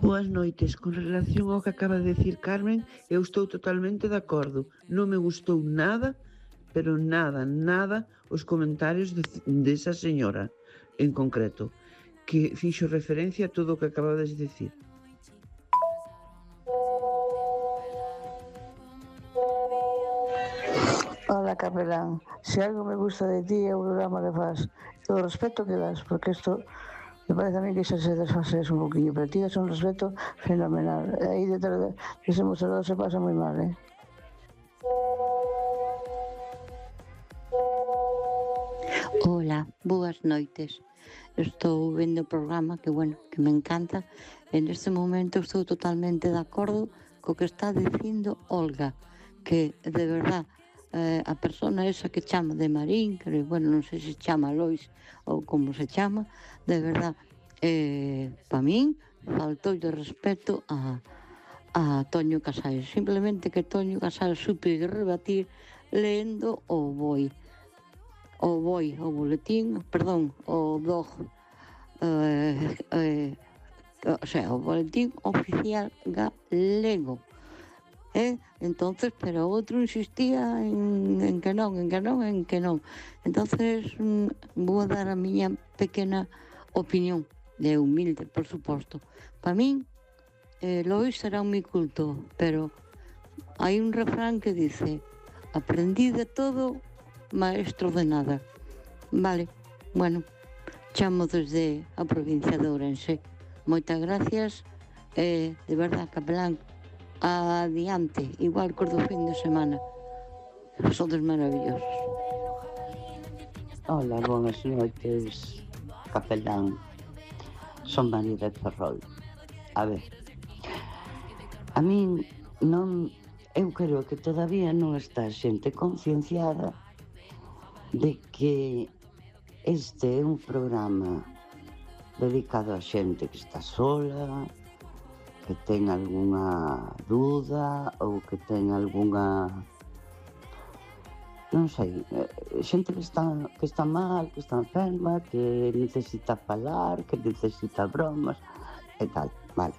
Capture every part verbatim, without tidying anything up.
Boas noites. Con relación ao que acaba de decir Carmen, eu estou totalmente de acordo. Non me gustou nada, pero nada, nada, os comentarios de, desa señora en concreto, que fixo referencia a todo o que acabades de decir. Hola, capelán. Se algo me gusta de ti é o programa que faz, todo o respeto que das, porque isto me parece a mí que xa se desfases un poquinho, pero ti das un respeto fenomenal. E aí detrás de ese mostrador se pasa moi mal, eh? Hola, boas noites. Estou vendo o programa que, bueno, que me encanta. En este momento estou totalmente de acordo co que está dicindo Olga, que de verdad eh, a persona esa que chama de Marín, que, bueno, non sei se chama Lois ou como se chama, de verdad, eh, pa min faltou de respeto a, a Toño Casal. Simplemente que Toño Casal supe rebatir lendo o boi. O boi, o boletín, perdón, o blog, eh, eh, o sea, o boletín oficial galego. Eh? Entonces, pero outro insistía en, en que non, en que non, en que non. Entonces, mm, vou a dar a miña pequena opinión, de humilde, por suposto. Para min, eh, Lois será un mi culto, pero hai un refrán que dice: aprendí de todo, maestro de nada. Vale, bueno, chamo desde a provincia de Ourense. Moitas gracias, eh, de verdad, capelán, adiante, igual que do fin de semana. Sodes maravillosos. Hola, boas noites, capelán. Son María de Ferrol. A ver, a min non, eu creo que todavía non está xente concienciada de que este é un programa dedicado a xente que está sola, que ten algunha dúda ou que ten algunha, non sei, xente que está, que está mal, que está enferma, que necesita falar, que necesita bromas e tal, vale.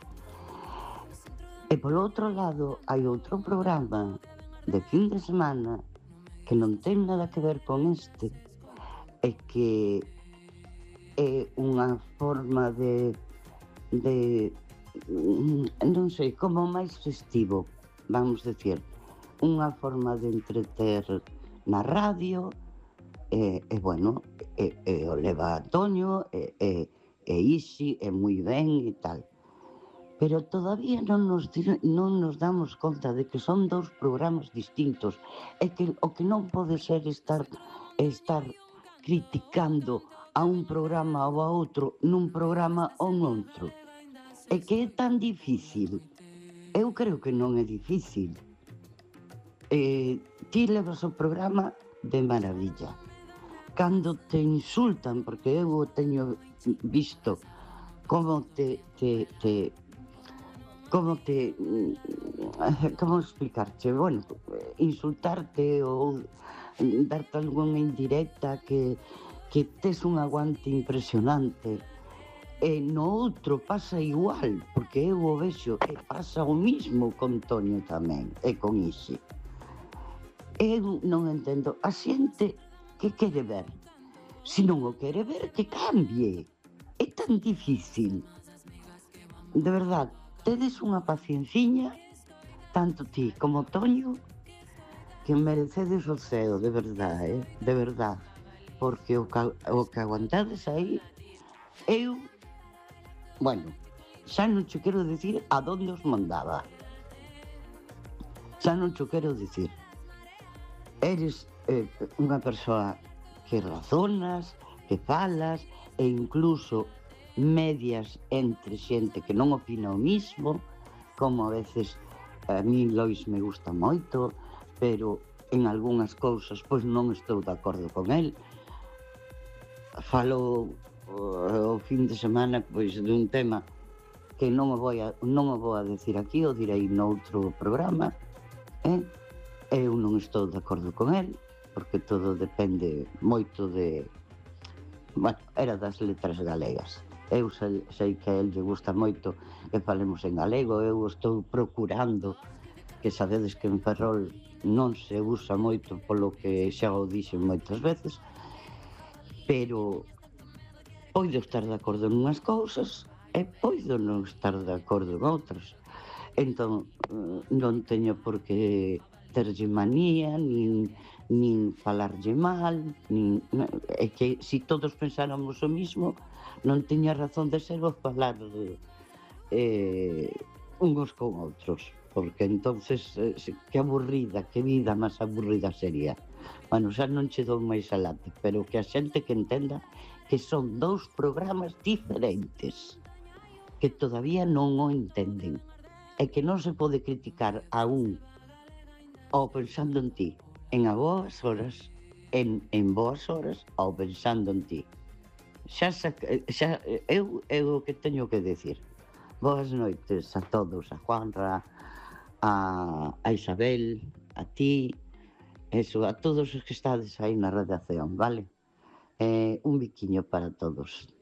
E polo outro lado hai outro programa de fin de semana que non ten nada que ver con este e que é unha forma de de non sei, como máis festivo, vamos decir, unha forma de entreter na radio e, e bueno, e, e o leva Antonio e, e, e Isi e moi ben e tal, pero todavía non nos, non nos damos conta de que son dous programas distintos e que o que non pode ser estar estar criticando a un programa ou a outro nun programa ou noutro. É que é tan difícil. Eu creo que non é difícil. Eh, ti levas o programa de maravilla. Cando te insultan, porque eu teño visto como te, te, te como te como explicarte, bueno, insultarte ou darte algunha indirecta que, que tes un aguante impresionante. E no outro pasa igual, porque eu o vexo e pasa o mismo con Toño tamén e con Isi. Eu non entendo a xente que quere ver. Se non o quere ver, que cambie. É tan difícil. De verdad, tedes unha pacienciña, tanto ti como Toño, que merecedes o ceo, de verdad, eh? De verdad. Porque o que, o que aguantades aí, eu, bueno, xa non che quero dicir a donde os mandaba. Xa non che quero dicir. Eres eh, unha persoa que razonas, que falas, e incluso medias entre xente que non opina o mismo, como a veces a mí Lois me gusta moito, pero en algunhas cousas pois non estou de acordo con el. Falo o, o fin de semana pois dun tema que non o vou a, non o vou a decir aquí, o direi noutro programa, eh? Eu non estou de acordo con el, porque todo depende moito de, bueno, era das letras galegas. Eu sei, sei que a el lle gusta moito que falemos en galego. Eu estou procurando, que sabedes que en Ferrol non se usa moito, polo que xa o dixen moitas veces, pero poido estar de acordo en unhas cousas e poido non estar de acordo en outras. Entón, non teño por que terlle manía, nin, nin falarlle mal, nin, é que se si todos pensáramos o mismo, non teña razón de ser o falar eh, uns con outros, porque entonces eh, que aburrida, que vida máis aburrida sería. Bueno, xa non che dou máis alate, pero que a xente que entenda que son dous programas diferentes, que todavía non o entenden, e que non se pode criticar a un ao pensando en ti, en a boas horas, en, en boas horas, ao pensando en ti. Xa, xa eu é o que teño que decir. Boas noites a todos, a Juanra, a, a Isabel, a ti, eso, a todos os que estades aí na redacción, vale? Eh, un biquiño para todos.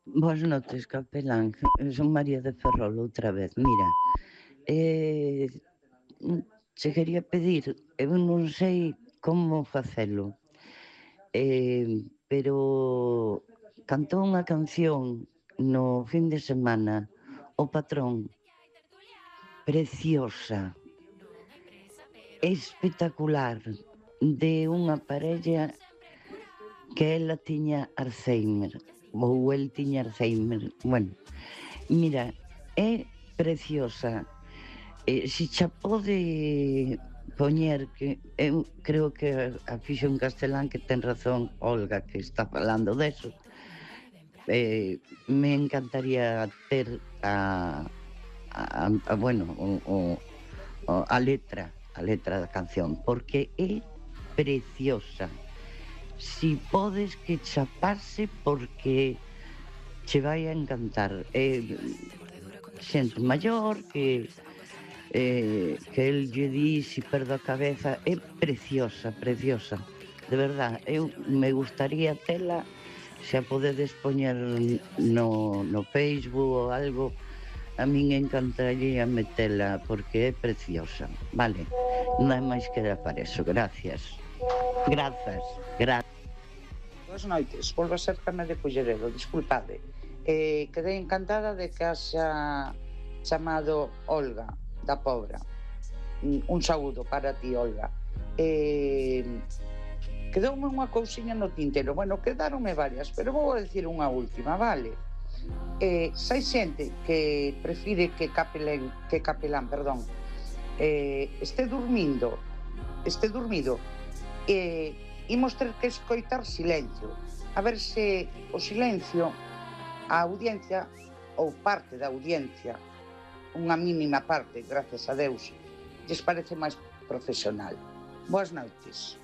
Boas noites, capelán. Son María de Ferrol outra vez. Mira, eh, se quería pedir, eu non sei como facelo, eh, pero cantou unha canción no fin de semana o Patrón, preciosa, espectacular, de unha parella que ela tiña Alzheimer, ou el tiña Alzheimer. Bueno, mira, é preciosa. Eh, si xa pode poñer, que eu creo que a fixo en castelán, que ten razón Olga, que está falando deso, eh, me encantaría ter a, a, a bueno, o, o, a letra, a letra da canción, porque é preciosa. Si podes que chapase, porque che vai a encantar. É xente maior que eh, que el lle di si perdo a cabeza. É preciosa, preciosa, de verdad. Eu me gustaría tela, se a podedes poñer no, no Facebook ou algo, a min encantaría metela, porque é preciosa. Vale, non hai máis que dar para eso. Gracias. Grazas, grazas. Boas noites, volvo a ser Carme de Culleredo, disculpade. Eh, quedei encantada de que haxa chamado Olga, da Pobra. Un saúdo para ti, Olga. Eh, quedoume unha cousiña no tintero. Bueno, quedaronme varias, pero vou a decir unha última, vale? Eh, se hai xente que prefire que capelán, que capelán, perdón, eh, este dormindo, este dormido, eh, imos ter que escoitar silencio, a ver se o silencio, a audiencia ou parte da audiencia, unha mínima parte, gracias a Deus, lles parece máis profesional. Boas noites.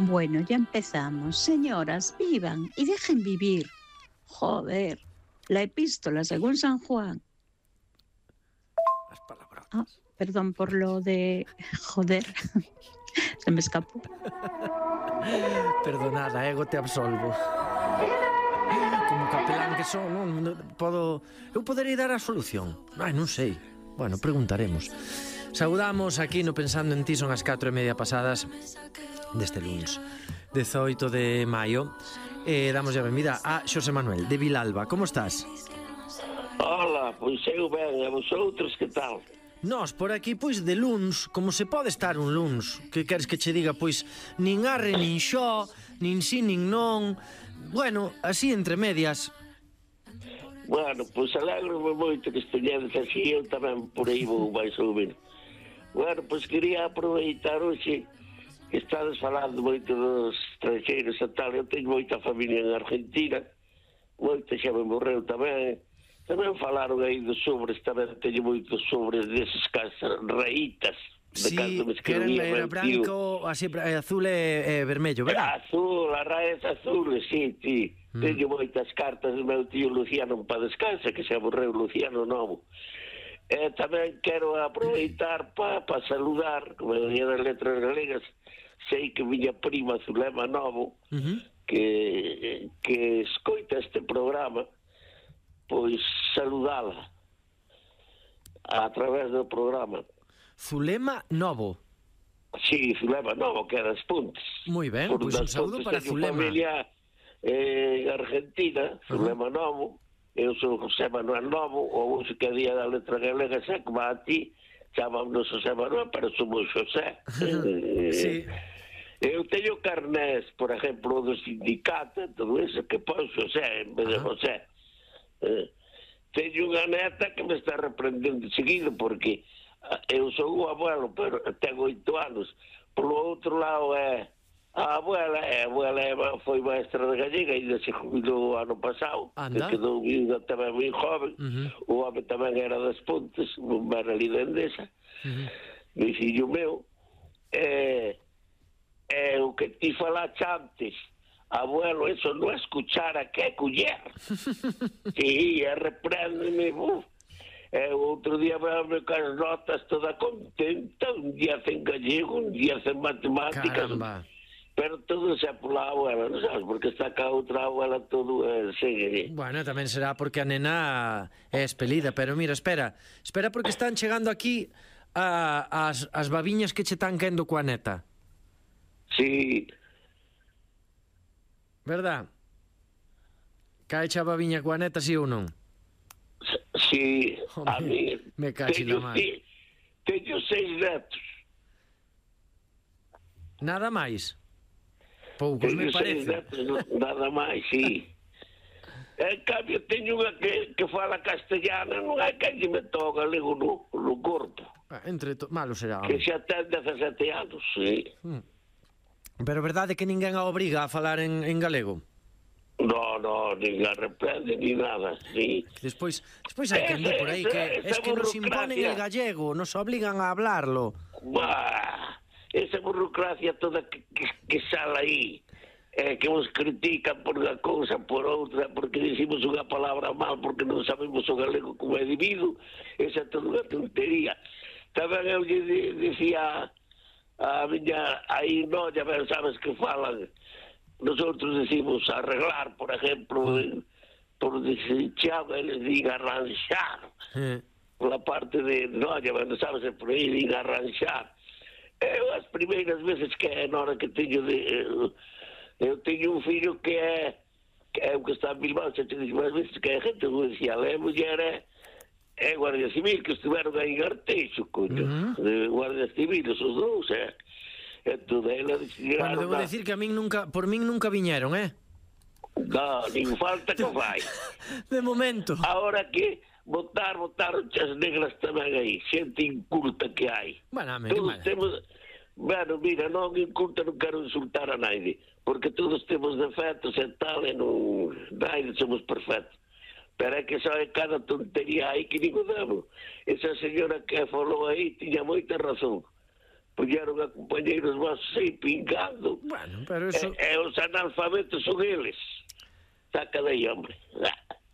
Bueno, ya empezamos. Señoras, vivan y dejen vivir. Joder, la epístola según San Juan. Las palabras. Ah, perdón por lo de... Joder, se me escapó. Perdonada, ego te absolvo. Como capelán que son, non podo... Eu poderei dar a solución? Ai, non sei. Bueno, preguntaremos. Saudamos aquí no Pensando en Ti, son as catro e media pasadas deste luns dezoito de maio. E damos a benvida a Xosé Manuel de Vilalba. Como estás? Hola, pois eu ben, e vosotros que tal? Nós por aquí, pois, de luns, como se pode estar un luns? Que queres que che diga, pois, nin arre, nin xo, nin si, nin non. Bueno, así entre medias. Bueno, pois alegro-me moito que esteñedes así, eu tamén por aí vou máis ou menos. Bueno, pois quería aproveitar hoxe que estades falando moito dos estranxeiros e tal. Eu teño moita familia en Argentina, moita xa me morreu tamén. Tamén falaron aí dos sobres, tamén teño moitos sobres deses casas raítas. Sí, que eran, era branco, así, azul e, e vermello, verdad? Azul, a raíz azul, sí, sí. Mm. Teño moitas cartas do meu tío Luciano para descansa, que se morreu Luciano Novo. E tamén quero aproveitar para pa saludar, como decía das letras galegas, sei que miña prima Zulema Novo, uh-huh. que, que escoita este programa, pois saludala a través do programa. Zulema Novo. Sí, Zulema Novo, que é das Pontes. Moi ben, pois un saúdo para Zulema. Familia eh, en Argentina, Zulema uh-huh. Novo, eu sou José Manuel Novo, o uso que día da letra galega xa como a ti, chamámonos José Manuel, pero somos José. Sí. Eu teño carnés, por exemplo, do sindicato, todo eso, que pon José en vez de José. Eh, teño unha neta que me está reprendendo seguido, porque eu sou o abuelo, pero tengo oito anos. Por outro lado, é a abuela, a abuela foi maestra de gallega e se jubilou ano pasado, que quedou viuda tamén moi joven. Uh-huh. O home tamén era das Pontes, era ali de Endesa. Uh-huh. Mi fillo meu, eh, é o que ti falaste antes, abuelo, eso non é escuchara, que é culler. Sí, e repréndeme, uf. E outro día veame cas notas toda contenta, un día en gallego, un día en matemáticas. Caramba. Pero todo xa pola abuela, non sabes, porque está cá outra abuela todo eh, segue. Bueno, tamén será porque a nena é espelida, pero mira, espera, espera porque están chegando aquí a, as, as babiñas que che están quendo coa neta. Sí. Verdad? Cae xa a babiña coa neta, si ou non? Sí, oh, a mí me cachi la mano. Teño seis netos. Nada máis? Poucos, me parece. Netos, nada máis, sí. En cambio, teño unha que, que fala castellana, non hai que lle me toca galego no, no corpo. Entre to... Malo será. Que xa ten dezasete anos, sí. Hmm. Pero verdade que ninguén a obriga a falar en, en galego? No, no, nin a reprende, ni nada, sí. Despois, despois hai que andar por aí que es que nos imponen el gallego, nos obligan a hablarlo. Bah, esa burocracia toda que, que, que sale aí, eh, que nos critican por unha cousa, por outra, porque dicimos unha palabra mal, porque non sabemos o galego como é debido, esa é toda unha tontería. Tamén eu lle dicía a miña aí noia, ben sabes que falan, nosotros decimos arreglar, por ejemplo, por decir chavo, eles digan arranxar, sí. Por la parte de noia, ben sabes, por aí digan arranxar. Eu as primeiras veces que é na hora que teño de... Eu, eu teño un filho que é que é o que está en Bilbao, xa te dixo máis veces que é gente judicial, é muller, é, é Guardia Civil, que estiveron aí en Arteixo, coño, uh-huh. de Guardia Civil, esos dous, é. Entón, ela decidiron... Bueno, debo decir que a min nunca, por min nunca viñeron, eh? No, nin falta que fai. De momento. Ahora que... votar, votaron as negras tamén aí, xente inculta que hai. Bueno, me, todos temos, bueno, mira, non inculta, non quero insultar a naide, porque todos temos defectos e tal, e non, naide somos perfectos. Pero é que só é cada tontería aí que digo demo. Esa señora que falou aí tiña moita razón. Puñeron a compañeiros vosos aí pingando. Bueno, pero eso... E, e os analfabetos son eles. Saca de aí, hombre.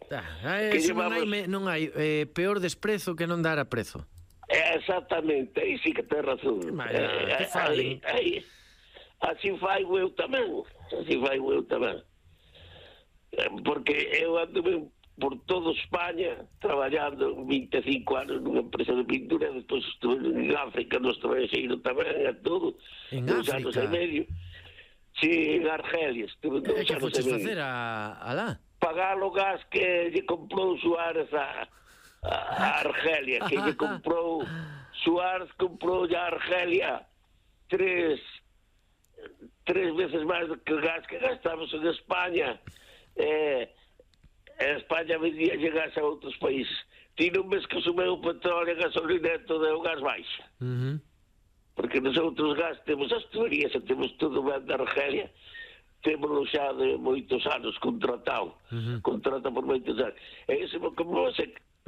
Ah, eso non hai, non hai eh, peor desprezo que non dar a prezo. Exactamente, aí sí que ten razón. Vaya, eh, que falen. Aí, aí, así fai eu tamén, así fai eu tamén. Porque eu ando por toda España traballando vinte e cinco anos nunha empresa de pintura, despois estuve en África, no estranxeiro tamén, e todo. En África? Anos e medio. Sí, en Argelia, estuve dos anos e medio. E que foches facer a, a lá? Pagar o gas que lle comprou Suárez a, a Argelia, que lle comprou Suárez comprou a Argelia tres tres veces máis do que o gas que gastamos en España. Eh, en España vendía gas a outros países. Ti non ves que sumeu o petróleo e a gasolina e todo é o gas baixa. Uh-huh. Porque nos outros gas temos as tuberías e temos todo ben de Argelia. Temos xa de moitos anos contratado, uh-huh. contrata por moitos anos. E iso como,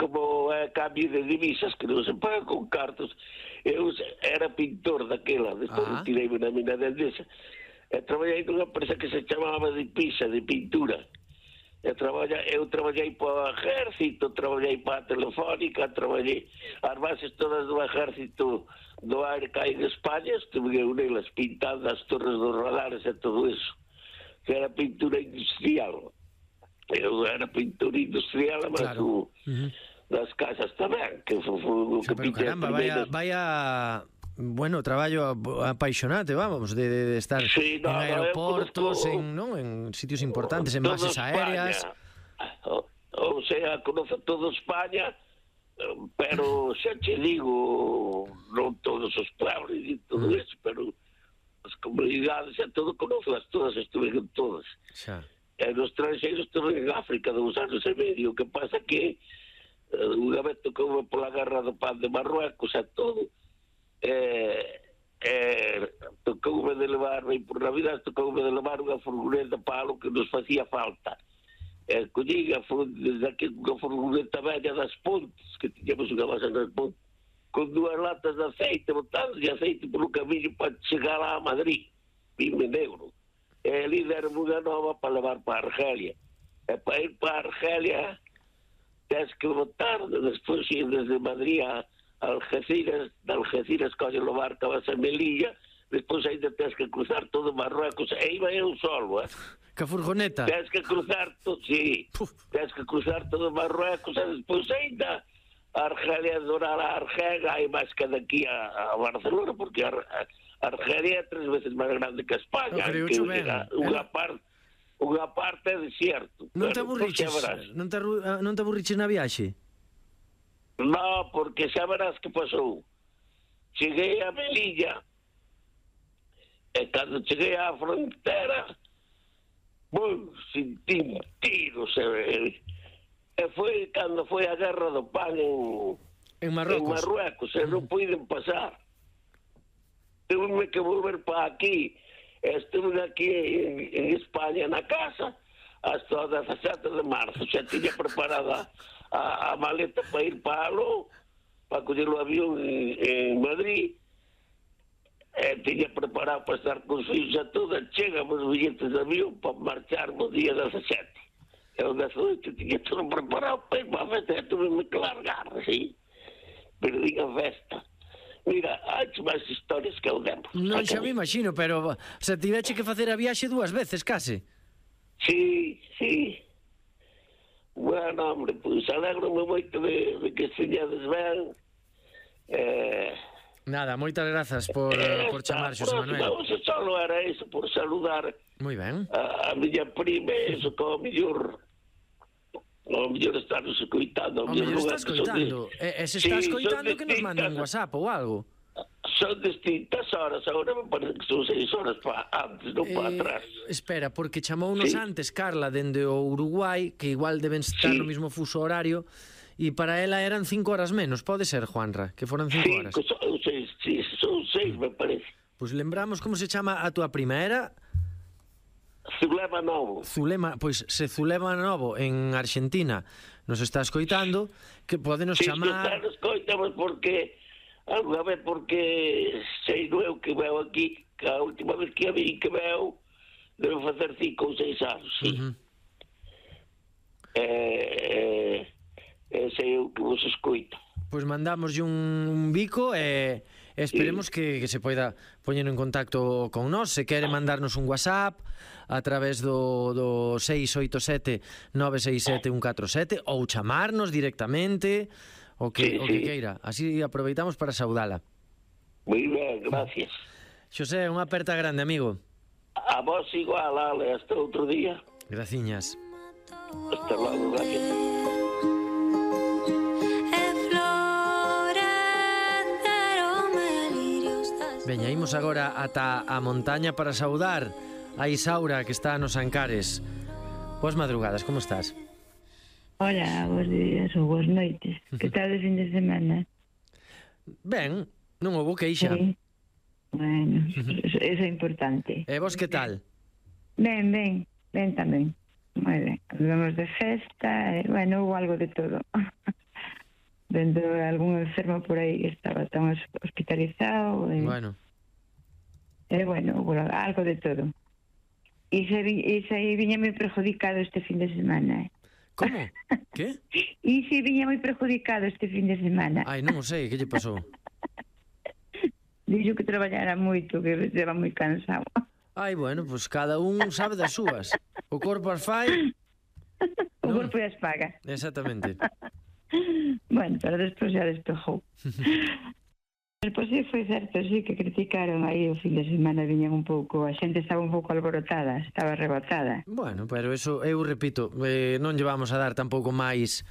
como é cambio de divisas, que non se paga con cartos. Eu era pintor daquela, despois uh-huh. tirei na mina de Endesa, e traballei nunha empresa que se chamaba de Pisa, de pintura. Eu, traballa, eu traballei para o Ejército, traballei para a Telefónica, traballei as bases todas do Ejército do aire que hai en España, estuve eu nelas pintando as torres dos radares e todo eso, que era pintura industrial. Eu era pintura industrial, mas claro. uh-huh. das casas tamén, que foi o que pintei. Caramba, vaya, vaya, bueno, traballo apaixonante, vamos, de, de estar sí, no, en aeroportos, no, en, ¿no? en sitios importantes, en bases aéreas. O, o sea, conoce todo España, pero xa che digo, non todos os pueblos e todo mm. eso, pero as comunidades xa todo conozco, todas estuve en todas. Xa. E nos estranxeiros estuve en África dous anos e medio, que pasa que uh, unha vez tocoume pola guerra do pan de Marruecos e todo, eh, eh, tocoume de levarme por Navidad, tocoume de levar unha furgoneta para lo que nos facía falta. Eh, collín desde aquí unha furgoneta bella das Pontes, que tiñamos unha base das Pontes, con dúas latas de aceite, botando de aceite polo camiño para chegar a Madrid, vime negro. E ali deron unha nova para levar para Argelia. E para ir para Argelia tens que botar, despois ir desde Madrid a Algeciras, de Algeciras colle o barco, vas a Melilla, despois ainda tens que cruzar todo Marruecos, e iba eu solo, eh? Que furgoneta? Tens que cruzar todo, sí, Puf. tens que cruzar todo Marruecos, e despois ainda a Argelia, donar a Argelia, hai máis que daqui a, a Barcelona, porque a, a Argelia é tres veces máis grande que a España, no, que unha parte unha parte é desierto. Non te aburriches, non te, non te aburriches na viaxe? No, porque xa verás que pasou. Cheguei a Melilla, e cando cheguei á frontera, bum, sentí tiros, e, e foi cando foi a guerra do pan en, en Marruecos, en Marruecos e non puiden pasar. Tuve que volver para aquí. Estuve aquí en, en España na casa hasta o dezasete de marzo. Xa tiña preparada a, a maleta para ir para Aló, para coller o avión en, en Madrid. E tiña preparado para estar con os fillos a todo. Chegamos os billetes de avión para marchar no día dezasete. E o dezoito tiña todo preparado para ir para a festa. E tuve que largar, sí. Perdí a festa. Mira, hai máis historias que eu demo. Non xa me imagino, pero se tiveche que facer a viaxe dúas veces, case. Sí, sí. Bueno, hombre, pois pues, alegro-me moito de, de que esteñades ben. Eh... Nada, moitas grazas por, eh, por chamar, Xosé Manuel. Non, só era iso, por saludar moi ben. A, a miña prima, iso como mellor... O mellor estás escoitando. O mellor estás escoitando. E, e se estás sí, escoitando que nos manda un WhatsApp ou algo. Son distintas horas. Agora me parece que son seis horas para antes, non para eh, atrás. Espera, porque chamounos sí. antes Carla dende o Uruguai, que igual deben estar sí. no mismo fuso horario, e para ela eran cinco horas menos. Pode ser, Juanra, que foran cinco horas. Son seis, sí, son seis, me parece. Pois pues lembramos como se chama a túa prima. Era... Zulema Novo. Zulema, pois se Zulema Novo en Argentina nos está escoitando, que podenos sí, chamar... Sí, escoitamos porque alguna vez porque sei eu que veo aquí, que a última vez que a vi que veo debe facer cinco ou seis anos, sí. Uh-huh. Eh, eh, sei eu que vos escoito. Pois mandamoslle un, un bico e... Esperemos sí. que, que se poida poñer en contacto con nós. Se quere mandarnos un WhatsApp a través do, do seis oito sete nove seis sete un catro sete ou chamarnos directamente o que, sí, o que sí. queira. Así aproveitamos para saudala. Moi ben, gracias. Xosé, unha aperta grande, amigo. A vos igual, Ale, hasta outro día. Graciñas. Hasta logo, gracias. Veña, imos agora ata a montaña para saudar a Isaura, que está nos Ancares. Boas madrugadas, como estás? Hola, bons días ou boas noites. Que tal de fin de semana? Ben, non houbo queixa. Sí. Bueno, eso é importante. E vos que tal? Ben, ben, ben tamén. Moi ben. Vamos de festa, e, bueno, houve algo de todo. Dentro de algún enfermo por aí que estaba tan hospitalizado. E, bueno. E, bueno, algo de todo. E se, e se viña moi perjudicado este fin de semana, eh? Como? Que? E se viña moi perjudicado este fin de semana. Ai, non o sei, que lle pasou? Dixo que traballara moito, que estaba moi cansado. Ai, bueno, pois pues cada un sabe das súas. O corpo as fai... O corpo as paga. Exactamente. Bueno, pero despois xa despejou. Pois sí, foi certo, sí, que criticaron aí o fin de semana, viñan un pouco, a xente estaba un pouco alborotada, estaba rebotada. Bueno, pero eso, eu repito, eh, non lle vamos a dar tampouco máis